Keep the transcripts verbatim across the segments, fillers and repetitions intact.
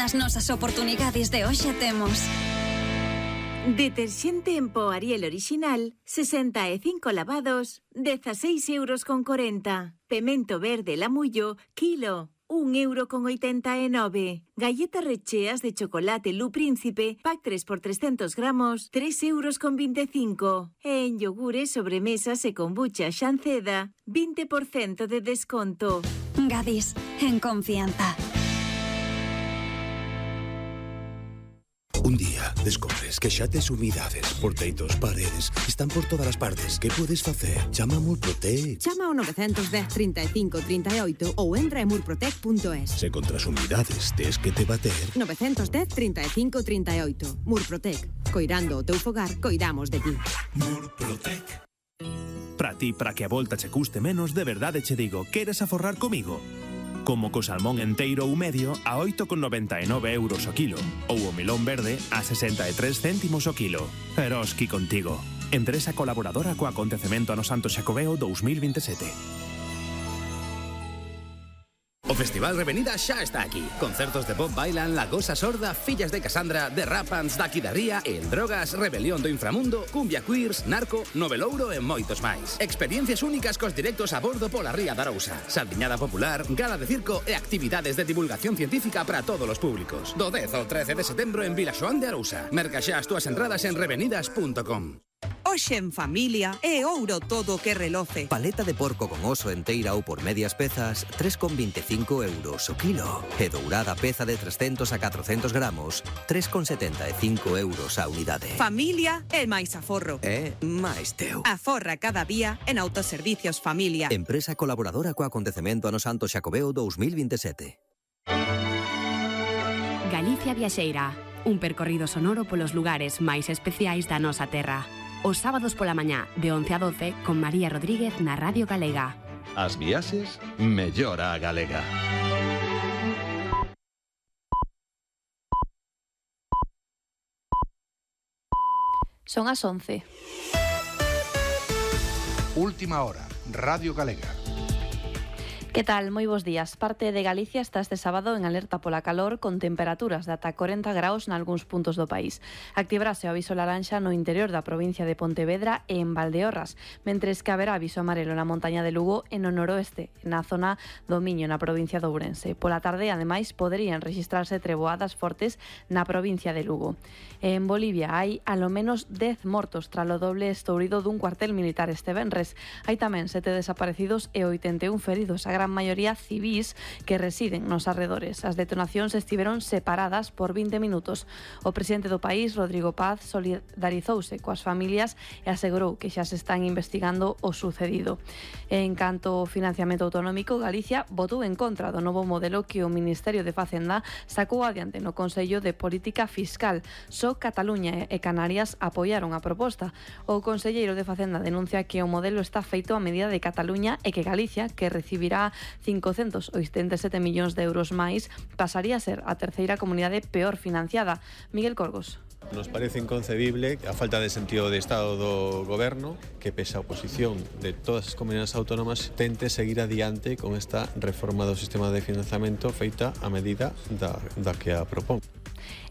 as nosas oportunidades de hoxe temos. Deterxente en pó Ariel original, sesenta e cinco lavados, dezaseis euros con corenta. Pemento verde Lamullo, kilo, un euro con oitenta e nove. Galletas recheas de chocolate Lu Príncipe, pack tres por trescentos gramos, tres euros con veinticinco. E en yogures, sobremesas e kombucha Xanceda, veinte por ciento de desconto. Gadis, en confianza. Un día descubres que xa tes humidades por teitos, paredes, están por todas as partes. Que podes facer? Chama a Murprotec. Chama ao nove un cero, trinta e cinco, trinta e oito ou entra en murprotec punto es. Se contra as humidades tes que te bater... nove un cero, trinta e cinco, trinta e oito. Murprotec. Coirando o teu fogar, coidamos de ti. Murprotec. Para ti, para que a volta che custe menos, de verdade che digo, queres aforrar comigo? Como co salmón enteiro ou medio a oito con noventa e nove euros o kilo ou o melón verde a sesenta e tres céntimos o kilo. Eroski contigo. Empresa colaboradora co acontecemento ano Santo Xacobeo dous mil veintisiete. O Festival Revenida xa está aquí. Concertos de Bob Bailan, La Gosa Sorda, Fillas de Casandra, The Rapans, Daqui da Ría, El Drogas, Rebelión do Inframundo, Cumbia Queers, Narco, Novelouro e moitos máis. Experiencias únicas cos directos a bordo pola Ría da Arousa. Saldiñada popular, gala de circo e actividades de divulgación científica para todos os públicos. Do dez ao trece de setembro en Vilaxoán de Arousa. Merca xa as túas entradas en revenidas punto com. Hoxe en familia é ouro todo o que reloce. Paleta de porco con oso enteira ou por medias pezas, tres con veinticinco euros o kilo. E dourada peza de trescentos a catrocentos gramos, tres con setenta e cinco euros a unidade. Familia é máis aforro. É máis teu. Aforra cada día en Autoservicios Familia. Empresa colaboradora co acontecemento ano Santo Xacobeo dous mil veintisiete. Galicia Viaxeira, un percorrido sonoro polos lugares máis especiais da nosa terra. Os sábados pola mañá, de once a doce, con María Rodríguez na Radio Galega. As viaxes, mellora a galega. Son as once. Última hora, Radio Galega. Que tal? Moi bons días. Parte de Galicia está este sábado en alerta pola calor con temperaturas de ata corenta graus nalgúns puntos do país. Activarase o aviso laranxa no interior da provincia de Pontevedra e en Valdeorras, mentres que haberá aviso amarelo na montaña de Lugo e no noroeste, na zona do Miño, na provincia de Ourense. Pola tarde, ademais, poderían registrarse treboadas fortes na provincia de Lugo. En Bolivia hai alo menos dez mortos tras o doble estourido dun cuartel militar este venres. Hai tamén sete desaparecidos e oitenta e un feridos, a gran maioría civís que residen nos arredores. As detonacións estiveron separadas por vinte minutos. O presidente do país, Rodrigo Paz, solidarizouse coas familias e asegurou que xa se están investigando o sucedido. En canto ao financiamento autonómico, Galicia votou en contra do novo modelo que o Ministerio de Facenda sacou adiante no Consello de Política Fiscal. Só Cataluña e Canarias apoiaron a proposta. O conselleiro de Facenda denuncia que o modelo está feito a medida de Cataluña e que Galicia, que recibirá cincocentos oitenta e sete millóns de euros máis, pasaría a ser a terceira comunidade peor financiada. Miguel Corgos. Nos parece inconcebible a falta de sentido de Estado do Goberno que, pese a oposición de todas as comunidades autónomas, tente seguir adiante con esta reforma do sistema de financiamento feita a medida da, da que a propón.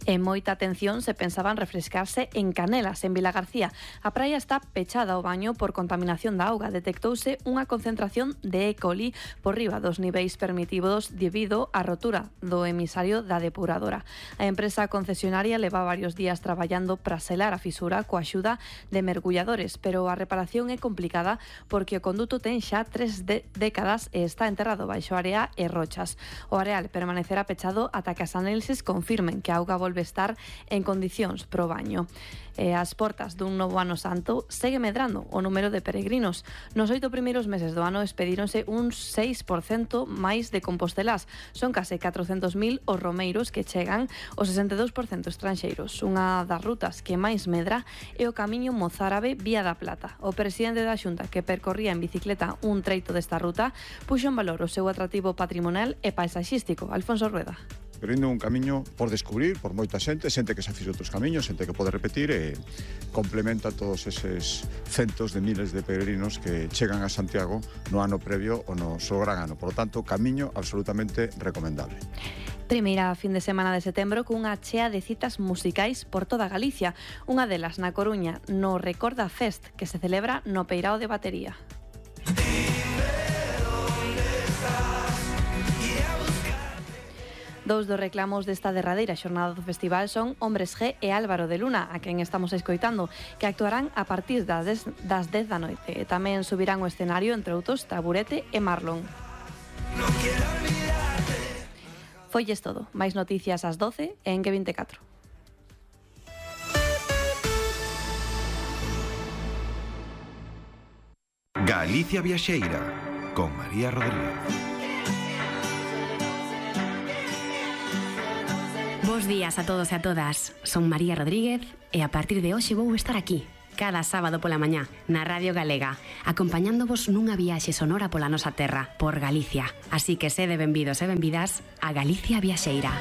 En moita atención se pensaban refrescarse en Canelas, en Vilagarcía. A praia está pechada ao baño por contaminación da auga. Detectouse unha concentración de E. coli por riba dos niveis permitidos debido á rotura do emisario da depuradora. A empresa concesionaria leva varios días traballando para selar a fisura coa axuda de mergulladores, pero a reparación é complicada porque o conduto ten xa tres de décadas e está enterrado baixo area e rochas. O areal permanecerá pechado ata que as análises confirmen que a auga volve estar en condicións pro baño. E as portas dun novo ano santo segue medrando o número de peregrinos. Nos oito primeiros meses do ano expedíronse un seis por cento máis de compostelás. Son case catrocentos mil os romeiros que chegan, o sesenta e dous por cento estranxeiros. Unha das rutas que máis medra é o camiño mozárabe Vía da Plata. O presidente da Xunta, que percorría en bicicleta un treito desta ruta, puxo en valor o seu atractivo patrimonial e paisaxístico. Alfonso Rueda. Pero indo un camiño por descubrir, por moita xente, xente que xa fixo outros camiños, xente que pode repetir e complementa todos eses centos de miles de peregrinos que chegan a Santiago no ano previo ou no seu gran ano. Por lo tanto, camiño absolutamente recomendable. Primeira fin de semana de setembro cunha chea de citas musicais por toda Galicia. Unha delas na Coruña, no Recorda Fest, que se celebra no Peirao de Batería. Dous dos reclamos desta derradeira xornada do festival son Hombres G e Álvaro de Luna, a quen estamos escoitando, que actuarán a partir das dez da noite. E tamén subirán o escenario, entre outros, Taburete e Marlon. Foilles todo. Máis noticias ás doce e en que vinte e catro. Galicia Viaxeira, con María Rodríguez. Bos días a todos e a todas. Son María Rodríguez e a partir de hoxe vou estar aquí, cada sábado pola mañá, na Radio Galega, acompañándovos nunha viaxe sonora pola nosa terra, por Galicia. Así que sede benvidos e benvidas a Galicia Viaxeira.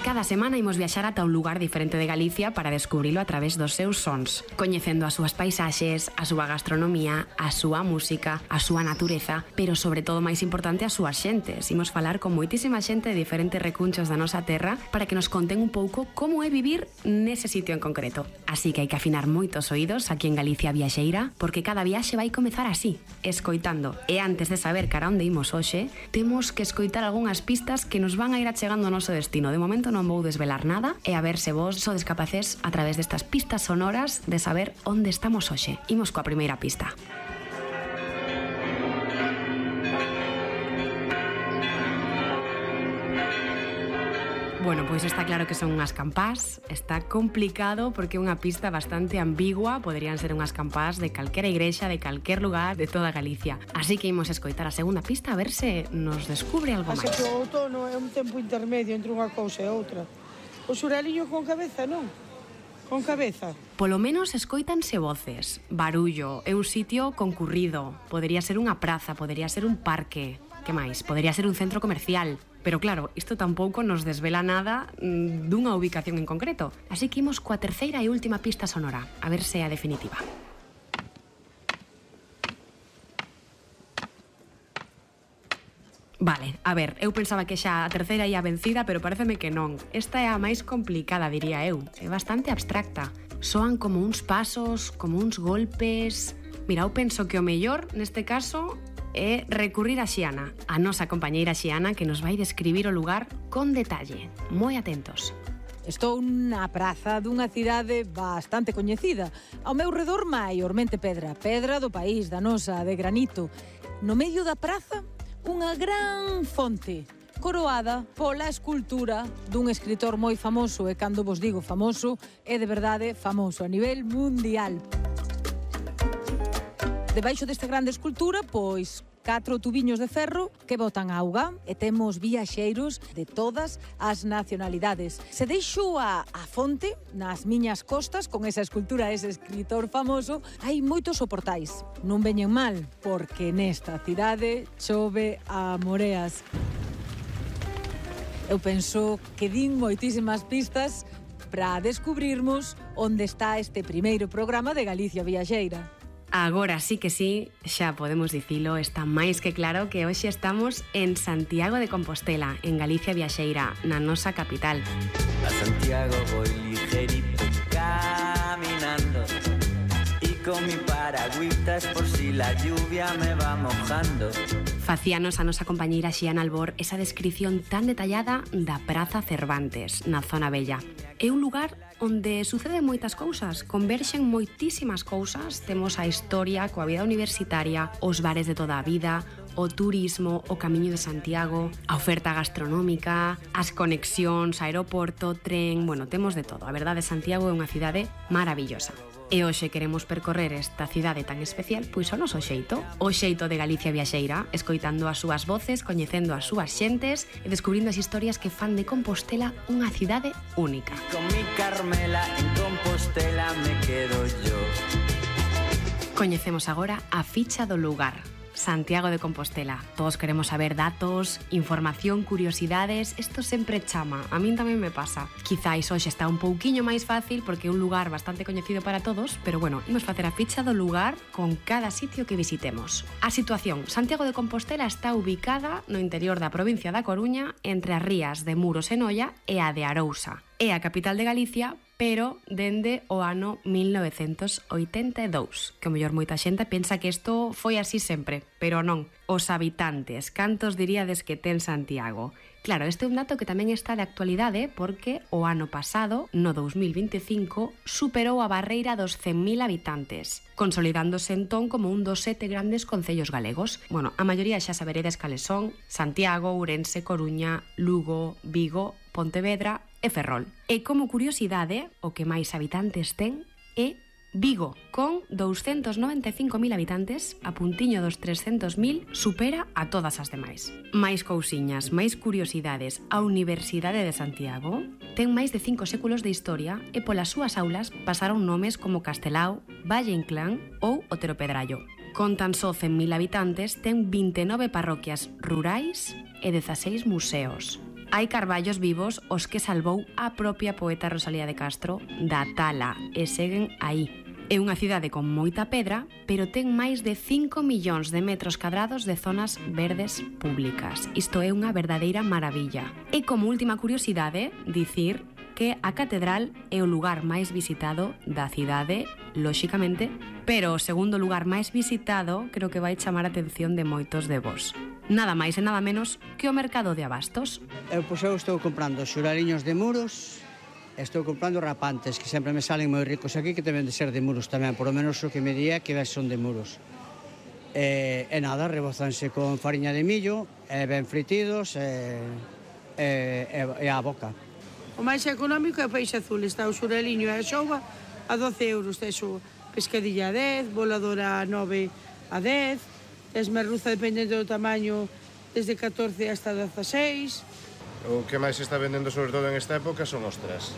Cada semana imos viaxar ata un lugar diferente de Galicia para descubrilo a través dos seus sons, coñecendo as súas paisaxes, a súa gastronomía, a súa música, a súa natureza, pero sobre todo máis importante as súas xentes. Imos falar con moitísima xente de diferentes recunchos da nosa terra para que nos conten un pouco como é vivir nese sitio en concreto. Así que hai que afinar moitos oídos aquí en Galicia Viaxeira, porque cada viaxe vai comezar así, escoitando. E antes de saber cara onde imos hoxe, temos que escoitar algunhas pistas que nos van a ir achegando ao noso destino. De momento non vou desvelar nada e a ver se vos sodes capaces a través destas pistas sonoras de saber onde estamos hoxe. Imos coa primeira pista. Bueno, pois está claro que son unhas campás. Está complicado porque é unha pista bastante ambigua. Poderían ser unhas campás de calquera igrexa, de calquer lugar de toda Galicia. Así que imos escoitar a segunda pista a ver se nos descubre algo máis. Así que o outono é un tempo intermedio entre unha cousa e outra. O xuraliño con cabeza, non? Con cabeza. Polo menos escoitanse voces. Barullo, é un sitio concurrido. Podería ser unha praza, podería ser un parque. Que máis? Podería ser un centro comercial. Pero claro, isto tampouco nos desvela nada mmm, dunha ubicación en concreto. Así que imos coa terceira e última pista sonora, a ver se é a definitiva. Vale, a ver, eu pensaba que xa a terceira ia vencida, pero pareceme que non. Esta é a máis complicada, diría eu. É bastante abstracta. Soan como uns pasos, como uns golpes... Mira, eu penso que o mellor, neste caso, é recurrir a Xiana, a nosa compañeira Xiana, que nos vai describir o lugar con detalle. Moi atentos. Estou na praza dunha cidade bastante coñecida. Ao meu redor, maiormente pedra. Pedra do país, da nosa, de granito. No medio da praza, unha gran fonte, coroada pola escultura dun escritor moi famoso, e cando vos digo famoso, é de verdade famoso a nivel mundial. Debaixo desta grande escultura, pois, catro tubiños de ferro que botan auga e temos viaxeiros de todas as nacionalidades. Se deixo a, a fonte nas miñas costas con esa escultura, ese escritor famoso, hai moitos soportais. Non veñen mal, porque nesta cidade chove a moreas. Eu penso que din moitísimas pistas para descubrirmos onde está este primeiro programa de Galicia Viaxeira. Agora sí que sí, xa podemos dicilo, está máis que claro que hoxe estamos en Santiago de Compostela, en Galicia Viaxeira, na nosa capital. A Santiago voy ligerito caminando y con mi paragüitas por si la lluvia me va mojando. Facíanos a nosa compañeira Xiana Albor esa descripción tan detallada da Praza Cervantes, na zona Bella. É un lugar onde suceden moitas cousas, converxen moitísimas cousas. Temos a historia coa vida universitaria, os bares de toda a vida, o turismo, o Camiño de Santiago, a oferta gastronómica, as conexións, aeroporto, tren... Bueno, temos de todo. A verdade, Santiago é unha cidade maravillosa. E hoxe queremos percorrer esta cidade tan especial, pois o noso xeito, o xeito de Galicia Viaxeira, escoitando as súas voces, coñecendo as súas xentes e descubrindo as historias que fan de Compostela unha cidade única. Con mi Carmela en Compostela me quedo yo. Coñecemos agora a ficha do lugar. Santiago de Compostela. Todos queremos saber datos, información, curiosidades. Isto sempre chama. A min tamén me pasa. Quizáis hoxe está un pouquiño máis fácil porque é un lugar bastante coñecido para todos, pero bueno, imos facer a ficha do lugar con cada sitio que visitemos. A situación. Santiago de Compostela está ubicada no interior da provincia da Coruña entre as rías de Muros e Noia e a de Arousa. É a capital de Galicia, pero dende o ano mil novecentos oitenta e dous, que o mellor moita xente pensa que isto foi así sempre, pero non. Os habitantes, cantos diríades que ten Santiago? Claro, este é un dato que tamén está de actualidade porque o ano pasado, no dous mil vinte e cinco, superou a barreira dos cen mil habitantes, consolidándose entón como un dos sete grandes concellos galegos. Bueno, a maioría xa saberedes cales son: Santiago, Ourense, Coruña, Lugo, Vigo, Pontevedra e Ferrol. E como curiosidade, o que máis habitantes ten é Vigo, con douscentos noventa e cinco mil habitantes, a puntiño dos trescentos mil, supera a todas as demais. Máis cousiñas, máis curiosidades. A Universidade de Santiago ten máis de cinco séculos de historia e polas súas aulas pasaron nomes como Castelao, Valle Inclán ou Otero Pedrallo. Con tan só cen mil habitantes, ten vinte e nove parroquias rurais e dezaseis museos. Hai carballos vivos os que salvou a propia poeta Rosalía de Castro da tala e seguen aí. É unha cidade con moita pedra, pero ten máis de cinco millóns de metros cadrados de zonas verdes públicas. Isto é unha verdadeira maravilla. E como última curiosidade, dicir que a catedral é o lugar máis visitado da cidade, lóxicamente, pero o segundo lugar máis visitado creo que vai chamar a atención de moitos de vos. Nada máis e nada menos que o mercado de abastos. Eu, pois, eu estou comprando xuraliños de Muros, estou comprando rapantes, que sempre me salen moi ricos aquí, que deben de ser de Muros tamén, por lo menos o que me diría que son de Muros. E, e nada, rebozanse con fariña de millo, e ben fritidos, e, e, e a boca. O máis económico é o peixe azul, está o xuraliño e a xouba a doce euros, tes o pescadilla a dez, voladora a nove a dez, tes merluza dependendo do tamaño desde catorce hasta dezaseis. O que máis se está vendendo sobre todo en esta época son ostras,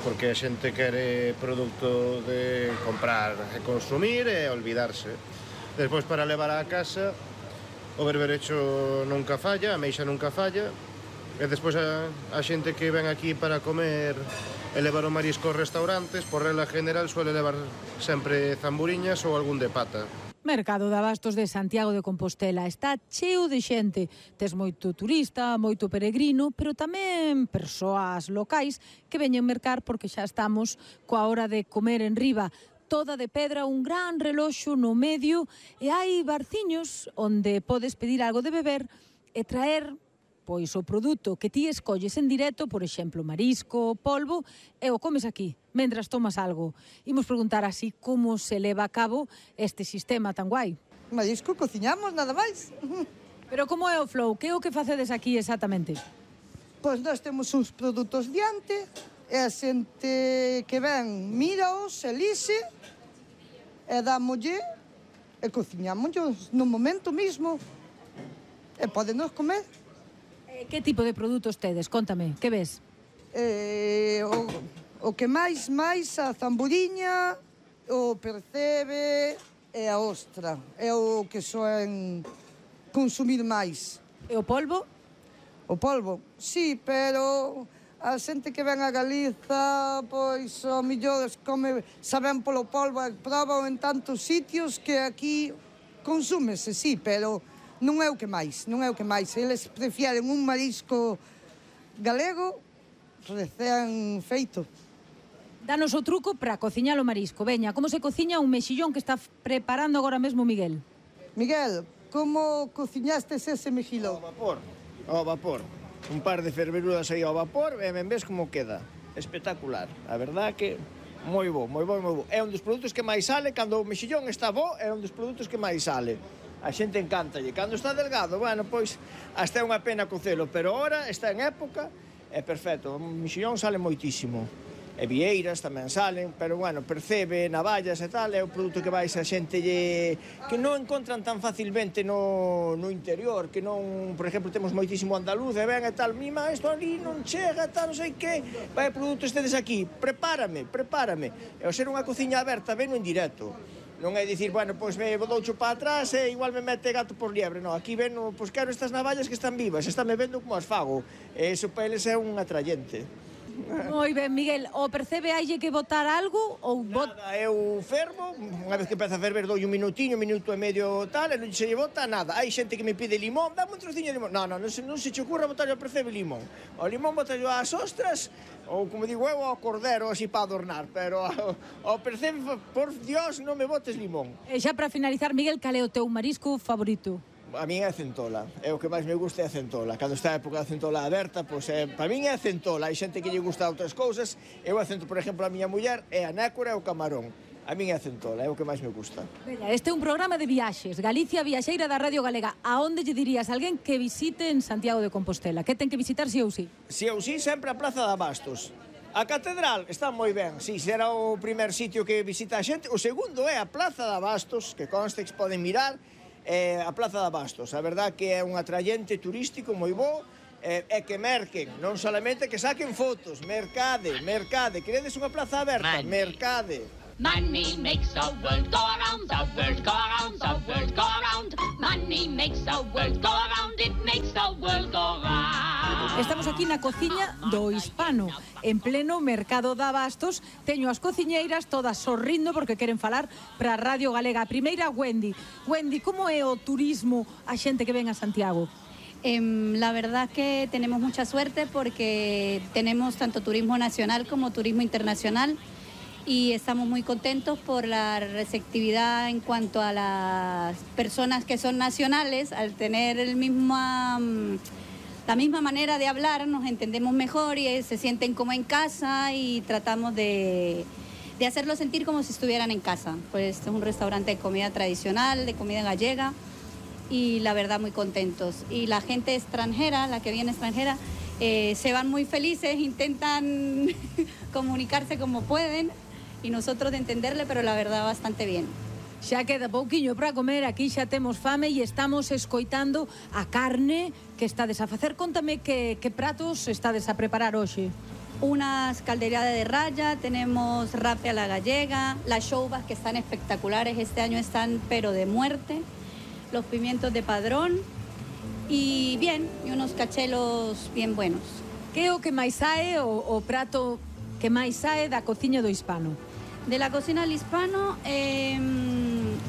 porque a xente quere produto de comprar e consumir e olvidarse. Despois, para levar á casa, o berberecho nunca falla, a meixa nunca falla, e despois a, a xente que ven aquí para comer e levar o marisco aos restaurantes, por regla general suele levar sempre zamburiñas ou algún de pata. Mercado de abastos de Santiago de Compostela está cheo de xente. Tes moito turista, moito peregrino, pero tamén persoas locais que veñen mercar porque xa estamos coa hora de comer en riba. Toda de pedra, un gran reloxo no medio e hai barciños onde podes pedir algo de beber e traer pois o produto que ti escolles en directo, por exemplo, marisco, polvo, e o comes aquí, mentras tomas algo. Imos preguntar así como se leva a cabo este sistema tan guai. Marisco cociñamos, nada máis. Pero como é o flow? Que é o que facedes aquí exactamente? Pois nós temos uns produtos diante, e a xente que ven míraos, elixe, e dámolle, e cociñámoslos no momento mismo, e podenos comer. Que tipo de produtos tedes? Contame, que ves? Eh, o, o que máis, máis a zamburiña, o percebe e a ostra. É o que soen consumir máis. E o polvo? O polvo, sí, pero a xente que ven a Galiza, pois, o millor come, saben polo polvo, proban en tantos sitios que aquí consúmese, sí, pero non é o que máis, non é o que máis. Eles prefieren un marisco galego recén feito. Danos o truco para cociñar o marisco. Veña, como se cociña un mexillón que está preparando agora mesmo Miguel? Miguel, como cociñastes ese mexilón? Ao vapor, ao vapor. Un par de ferveruras aí ao vapor e ben ves como queda. Espectacular. A verdad que moi bo, moi bo, moi bo. É un dos produtos que máis sale, cando o mexillón está bo, é un dos produtos que máis sale. A xente encántalle. Cando está delgado, bueno, pois, hasta é unha pena cocelo, pero ahora está en época, é perfecto. O mexillón sale moitísimo. E vieiras tamén salen, pero, bueno, percebe, navallas e tal, é o produto que vais a xente lle... que non encontran tan facilmente no, no interior, que non, por exemplo, temos moitísimo andaluz, e ven e tal, mima, isto ali non chega, tal, non sei que, vai, produto estedes aquí, prepárame, prepárame. E ao ser unha cociña aberta, veno en directo. Non é dicir, bueno, pois me doucho para atrás e igual me mete gato por liebre. Non, aquí ven, pois quero estas navallas que están vivas, están me vendo como as fago. E iso para eles é un atrayente. Moi ben, Miguel, o percebe haille que botar algo ou bot... Nada, eu fervo, unha vez que empeza a ferver doi un minutiño, un minuto e medio tal, e non se lle bota nada. Hai xente que me pide limón, dame un trociño de limón. Non, non, non se, non se che ocurra botarlle ao percebe limón. O limón botallo ás ostras, ou como digo eu, ao cordero, así para adornar, pero ao, ao percebe, por Dios, non me botes limón. E xa para finalizar, Miguel, cal é o teu marisco favorito? A min é a centola, é o que máis me gusta é a centola. Cando está a época da centola aberta, pois é, para min é a centola. Hai xente que lle gusta outras cousas. Eu a centola, por exemplo, a miña muller é a nécora e o camarón. A min é a centola, é o que máis me gusta. Veña, este é un programa de viaxes, Galicia Viaxeira da Radio Galega. A onde lle dirías a alguén que visite en Santiago de Compostela? Que ten que visitar si ou si? Si ou si, sempre a Praza de Abastos. A catedral está moi ben, si, será o primer sitio que visita a xente. O segundo é a Plaza de Abastos, que consta que poden mirar, é a Plaza de Abastos. A verdad que é un atrayente turístico moi bo, é, é que merquen, non solamente que saquen fotos, mercade, mercade, queredes unha plaza aberta, mercade. Money makes the world go around, the world go around, the world go around. Money makes the world go around, it makes the world go round. Estamos aquí na cociña do Hispano, en pleno mercado de Abastos. Teño as cociñeiras todas sorrindo porque queren falar para a Radio Galega. A primeira, Wendy. Wendy, como é o turismo a xente que ven a Santiago? Eh, la verdad que tenemos mucha suerte porque tenemos tanto turismo nacional como turismo internacional. Y estamos muy contentos por la receptividad en cuanto a las personas que son nacionales, al tener el mismo, la misma manera de hablar, nos entendemos mejor y se sienten como en casa y tratamos de, de hacerlos sentir como si estuvieran en casa. Pues es un restaurante de comida tradicional, de comida gallega y la verdad muy contentos. Y la gente extranjera, la que viene extranjera, eh, se van muy felices, intentan comunicarse como pueden. Y nosotros de entenderle, pero la verdad bastante bien. Xa queda pouquiño para comer, aquí xa temos fame e estamos escoitando a carne que estades a facer. Contame que, que pratos estades a preparar hoxe. Unas caldeiradas de raya, tenemos rape a la gallega, las chouvas que están espectaculares, este año están pero de muerte, los pimientos de padrón y bien, y unos cachelos bien buenos. Que é o que máis sae o, o prato que máis sae da cociña do Hispano? De la cocina del Hispano eh,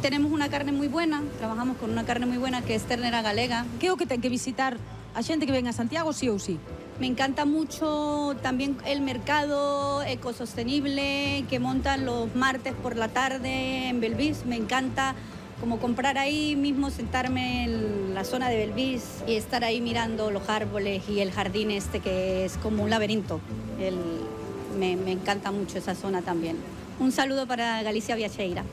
tenemos una carne muy buena, trabajamos con una carne muy buena que es ternera galega. Que é o que ten que visitar a xente que ven a Santiago sí ou sí? Me encanta mucho también el mercado ecosostenible que montan los martes por la tarde en Belvís. Me encanta como comprar ahí mismo, sentarme en la zona de Belvís y estar ahí mirando los árboles y el jardín este que es como un laberinto. El, me, me encanta mucho esa zona también. Un saludo para Galicia Viaxeira.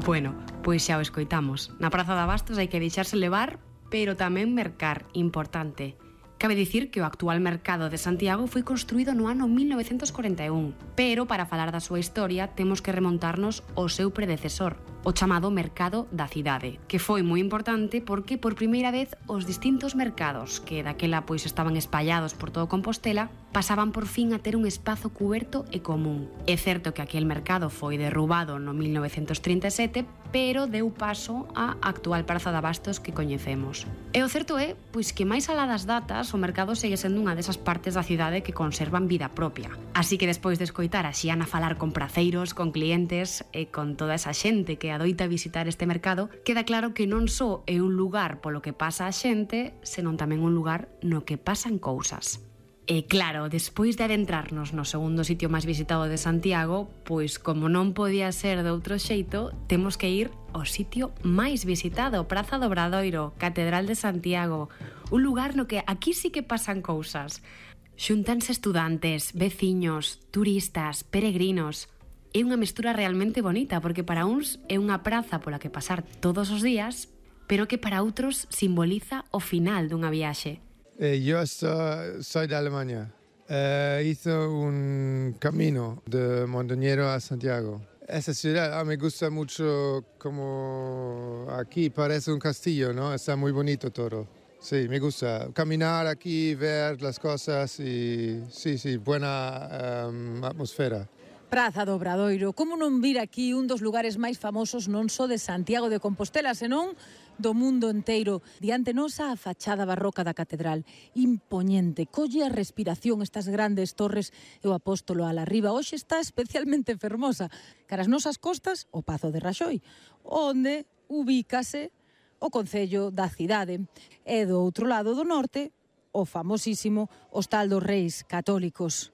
Bueno, pois xa o escoitamos. Na Praza de Abastos hai que deixarse levar, pero tamén mercar, importante. Cabe dicir que o actual mercado de Santiago foi construído no ano mil novecentos corenta e un, pero para falar da súa historia temos que remontarnos ao seu predecesor, o chamado Mercado da Cidade, que foi moi importante porque por primeira vez os distintos mercados que daquela pois estaban espallados por todo Compostela pasaban por fin a ter un espazo cuberto e común. É certo que aquel mercado foi derrubado no mil novecentos trinta e sete, pero deu paso á actual Praza de Abastos que coñecemos. E o certo é pois que máis alá das datas o mercado segue sendo unha desas partes da cidade que conservan vida propia. Así que despois de escoitar a Xiana falar con praceiros, con clientes e con toda esa xente que adoita visitar este mercado, queda claro que non só é un lugar polo que pasa a xente, senón tamén un lugar no que pasan cousas. E claro, despois de adentrarnos no segundo sitio máis visitado de Santiago, pois como non podía ser de outro xeito, temos que ir ao sitio máis visitado, Praza do Obradoiro, Catedral de Santiago, un lugar no que aquí sí que pasan cousas. Xuntanse estudantes, veciños, turistas, peregrinos. É unha mestura realmente bonita, porque para uns é unha praza pola que pasar todos os días, pero que para outros simboliza o final dunha viaxe. Eh, yo soy, soy de Alemania. Eh, hizo un camino de Montañero a Santiago. Esa ciudad ah, me gusta mucho, como aquí parece un castillo, ¿no? Está muy bonito todo. Sí, me gusta caminar aquí, ver las cosas y sí, sí, buena um, atmósfera. Praza do Obradoiro, como non vir aquí un dos lugares máis famosos non só de Santiago de Compostela, senón do mundo enteiro. Diante nosa a fachada barroca da catedral, impoñente, colle a respiración estas grandes torres e o apóstolo ala riba. Hoxe está especialmente fermosa. Caras nosas costas, o Pazo de Raxoi, onde ubícase o concello da cidade. E do outro lado do norte, o famosísimo Hostal dos Reis Católicos.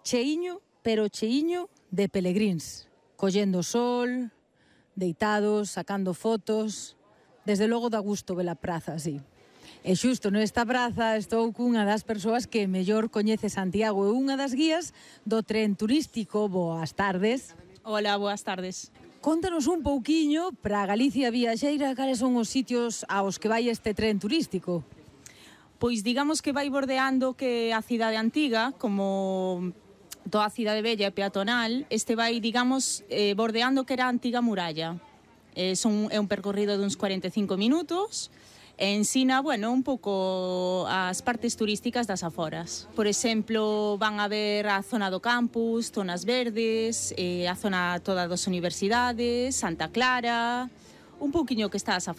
Cheiño, pero cheiño de pelegríns, collendo sol, deitados, sacando fotos. Desde logo dá gusto ver a praza así. E xusto nesta praza estou cunha das persoas que mellor coñece Santiago e unha das guías do tren turístico. Boas tardes. Hola, boas tardes. Contanos un pouquiño para Galicia Viaxeira cales son os sitios aos que vai este tren turístico. Pois digamos que vai bordeando que a cidade antiga, como toda a cidade bella e peatonal, este vai, digamos, eh, bordeando que era a antiga muralla. Eh, son, é un percorrido de uns cuarenta e cinco minutos e ensina, bueno, un pouco as partes turísticas das aforas. Por exemplo, van a ver a zona do campus, zonas verdes, eh, a zona toda das universidades, Santa Clara, un pouquiño que está as aforas.